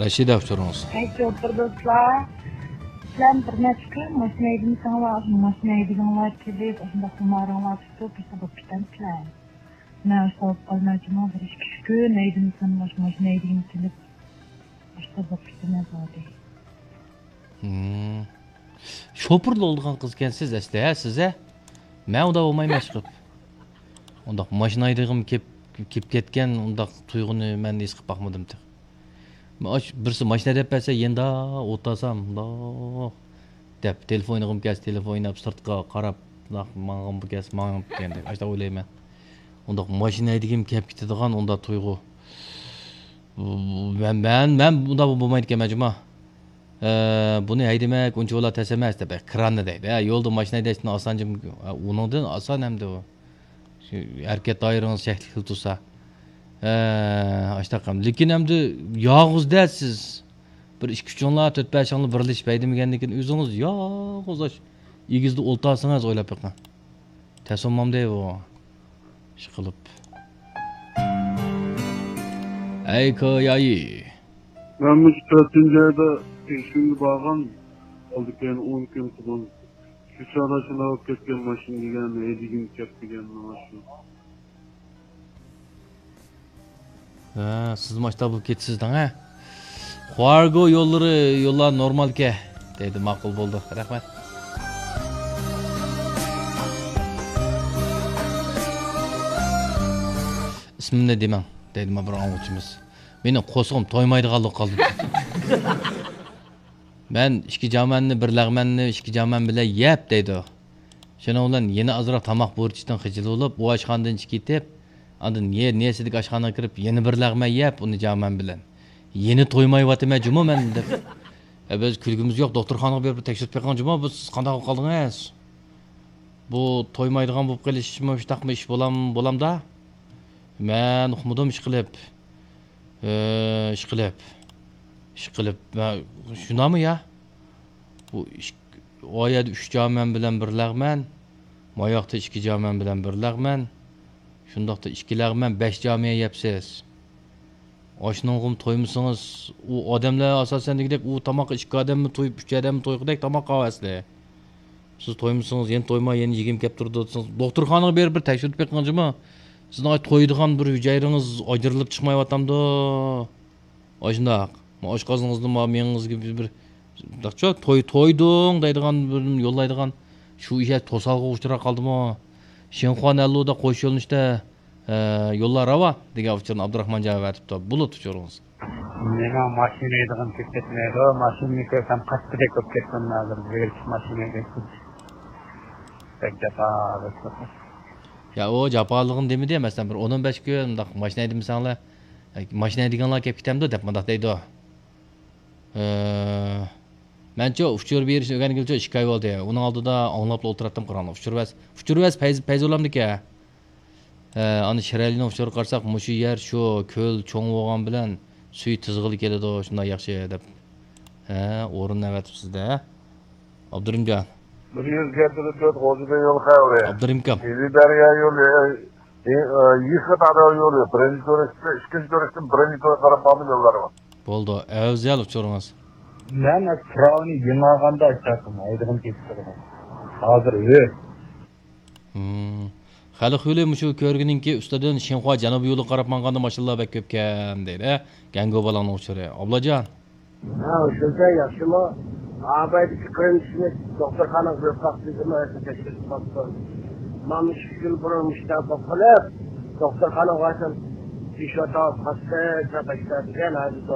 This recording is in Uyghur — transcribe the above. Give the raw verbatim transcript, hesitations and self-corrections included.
رەشىدە، ئۇچۇرىڭىز. ھەي، شوپۇر دوستلار. سىلەر بىر نەچچە كۈن ماشىنا ھەيدىمىسەڭلار، ماشىنا ھەيدىگىنىڭلار كېلىپ، ئاشۇنداق خۇمارىڭلار تۇتۇپ، بىزنى بولۇپ كېتەمسىلەر. مەن ئاشۇنداق بولۇپ قالمايچىمۇ، بىر ئىككى، ئۈچ كۈن ھەيدىمىسەم، ماشىنا ھەيدىگىنى كېلىپ، ئاشۇنداق بولۇپ كېتىمەن زادى. ھىم. شوپۇرلا بولىدىغان قىز ئىكەنسىز ئەسلى، ھە، سىز، ھە؟ مەن ئۇنداق بولمايمەن ئىشقىلىپ. ئۇنداق ماشىنا ھەيدىغۈم كېلىپ، كېلىپ كەتكەن ئۇنداق تۇيغۇنى مەن ھېس قىلىپ باقمىدىم تېخى. مەن ئاش-، بىرسى ماشىنا ھەيدەپ بەرسە، يېنىدا ئولتۇرسام، مۇنداق دەپ، تېلېفون ئوينىغۇم كەلسە، تېلېفون ئويناپ، سىرتقا قاراپ، مۇنداق ماڭغۇم كەلسە، ماڭىمەن دېگەندەك، ئاشۇنداق ئويلايمەن. ئۇنداق ماشىنا ھەيدىگۈم كېلىپ كېتىدىغان ئۇنداق تۇيغۇ. مەن، مەن، مەن ئۇنداق بولمايدىكەنمەن جۇما. ئە، بۇنى ھەيدىمەك ئۇنچىۋالا تەس ئەمەس دەپ، كراننى دەيدۇ. ھە، يولدا ماشىنا ھەيدەشتىن ئاسان جۇم-، ئۇنىڭدىن ئاسان ئەمدى ئۇ. شۇ ھەرىكەت دائىرىڭىز چەكلىكلا تۇرسا. ھە، ئاشتاق ئەمدى. لېكىن ئەمدى يالغۇز-دە سىز. بىر ئىككى-ئۈچۈڭلار، تۆت-بەشىڭلار بىرلىشىپ ھەيدىمىگەندىن كېيىن ئۆزىڭىز يالغۇز ئاش ئېگىزدە ئولتۇرسىڭىز ئويلاپ بېقىڭ. تەس بولمامدۇ بۇ؟ ئىشقىلىپ. ئەي كويايى. مەن مۇشۇ تۆتىنچى ئايدا تېگىشىمگە بارغان، ئالدى كەينى ئون كۈن قىلغان. شۇ چاغدا شۇنداق بولۇپ كەتكەن ماشىنا دېگەن، ھەيدىگۈم كەپ دېگەن مانا شۇ. ھە، سىزمۇ ئاشتا بولۇپ كېتىسىز دەڭ، ھە؟ خۇارگو يوللىرى، يوللار نورمالكەن، دەيدۇ، ماقۇل بولدى. رەھمەت. ئىسمىمنى دېمەڭ، دەيدۇ، مانا بىر ئاڭلىغۇچىمىز. مېنىڭ قورسىقىم تويمايدىغانلىقى قالدى. مەن ئىككى جامەننى، بىر لەغمەننى ئىككى جامەن بىلەن يەپ، دەيدۇ. شۇنىڭ بىلەن يەنە ئازراق تاماق بۇرچىدىن خىجىل بولۇپ، ئۇ ئاشخانىدىن چىقىپ كېتىپ، ئاندىن يە-، نېسىدىكى ئاشخانىغا كىرىپ، يەنە بىر لەغمەن يەپ، ئۇنى جامەن بىلەن. يەنە تويمايۋاتىمەن جۇمۇ مەن، دەپ. ئە، بىز كۈلگۈمىز يوق، دوختۇرخانىغا بېرىپ تەكشۈرتۈپ بېقىڭ جۇمۇ، بۇ سىز قانداق بولۇپ قالدىڭىز؟ بۇ تويمايدىغان بولۇپ قېلىشمۇ شۇنداقمۇ ئىش بولام-، بولامدا؟ مەن ئۇقمىدىم ئىشقىلىپ. ئى، ئىشقىلىپ. ئىشقىلىپ. مە-، شۇنداقمۇ يا؟ بۇ ئىك-، ئۇ يەردە ئۈچ جامەن بىلەن بىر لەغمەن، ماياقتا ئىككى جامەن بىلەن بىر لەغمەن، شۇنداقتا ئىككى لەغمەن، بەش جامىيە يەپسىز. ئاشۇنىڭغىمۇ تويمىسىڭىز، ئۇ ئادەملەر ئاساسەن دېگۈدەك ئۇ تاماققا ئىككى ئادەممۇ تويۇپ، ئۈچ ئادەممۇ تويغۇدەك تاماق قاۋاسلى. سىز تويمىسىڭىز، يەنە تويماي، يەنە يېگۈم كەپ تۇرىدۇ دېسىڭىز، دوختۇرخانىغا بېرىپ بىر تەكشۈرتۈپ بېقىڭ جۇمۇ. سىزنىڭ تويىدىغان بىر ھۈجەيرىڭىز ئاجرىلىپ چىقمايۋاتامدۇ؟ ئاشۇنداق. ما ئاشقازىنىڭىزنى ما مېڭىڭىزگە بىر، بىر، توي، تويدۇڭ دەيدىغان، بىر يوللايدىغان شۇ ئىش توسالغۇغا ئۇچراپ قالدىمۇ؟ شىنخۇا نەنلۇدا قوش يۆنىلىشتە، ئە، يوللار راۋان دېگەن ئۇچۇرنى ئابدۇراخمانجان ئەۋەتىپتۇ. بۇلۇت ئۇچۇرىڭىز. مېنىڭ ماشىنا ھەيدىغىم كېلىپ كەتمەيدۇ. ماشىنىنى كۆرسەم قاچقۇدەك بولۇپ كەتتىم ھازىر. بەك جاپا. يا، ئۇ جاپالىقىنى دېمىدى، مەسىلەن، بىر ئون ئون بەش كۈن مۇنداق ماشىنا ھەيدىمىسەڭلار، ماشىنا ھەيدىگەنلەر كېلىپ كېتەمدۇ دەپ مۇنداق دەيدۇ. ئە، مەنچۇ ئۇچۇر بېرىشنى ئۆگەنگىلىچۇ ئىككى ئاي بولدى. ئۇنىڭ ئالدىدا ئاڭلاپلا ئولتۇراتتىم قاراڭلار. ئۇچۇر بەس، ئۇچۇر بەس پەيز، پەيزۇللامدىكەن. ئە، ئانا شىرئەلىنىڭ ئۇچۇرىغا قارىساق، مۇشۇ يەر شۇ كۆل چوڭ بولغان بىلەن سۈيى تىزغىلى كېلىدۇ، شۇنداق ياخشى دەپ. ھە، ئورۇننى ئەۋەتىپسىز-دە. ئابدۇرېھىمجان. بىر يۈز يەتتە تۆت غوجىبى يول خەۋىرى. ئابدۇرېھىمكام. ئىلى دەريا يولى، ئى، ئى، يېقا دەريا يولى. بىرىنچى تۈركتە، ئىككىنچى تۈركتىن بىرىنچى تۈرككە قاراپ ماڭىدۇ يوللار. بولدى. ئەۋزەل ئۇچۇرىڭىز. مەن پىراۋىنى يېڭىغاندا ئىشلەتتىم. ھەيدىغىم كېلىپ تۇرىدۇ. ھازىر، ھۆ. ھىم. خەلق يولى مۇشۇ كۆرگىنىڭكى ئۈستىدىن شىنخۇا جەنۇبىي يولىغا قاراپ ماڭغاندا ماشىنىلار بەك كۆپكەن دەيدۇ، ھە؟ گەڭگو بالاڭنىڭ ئۇچۇرى. ئابلاجان. ھە، شۇنچە ياخشىمۇ؟ ئابايدىكى قېرىندىشىمىز دوختۇرخانىغا بېرىپ باقتى، نېمە تەكشۈرتۈپ باقتى. مانا ئىككى يىل بۇرۇن مۇشۇنداق بولۇپ قېلىپ، دوختۇرخانىغا بارسام، پېشۋا تاۋۇپ قاستى، دەپ ئاشتا دېگەن، ھازىر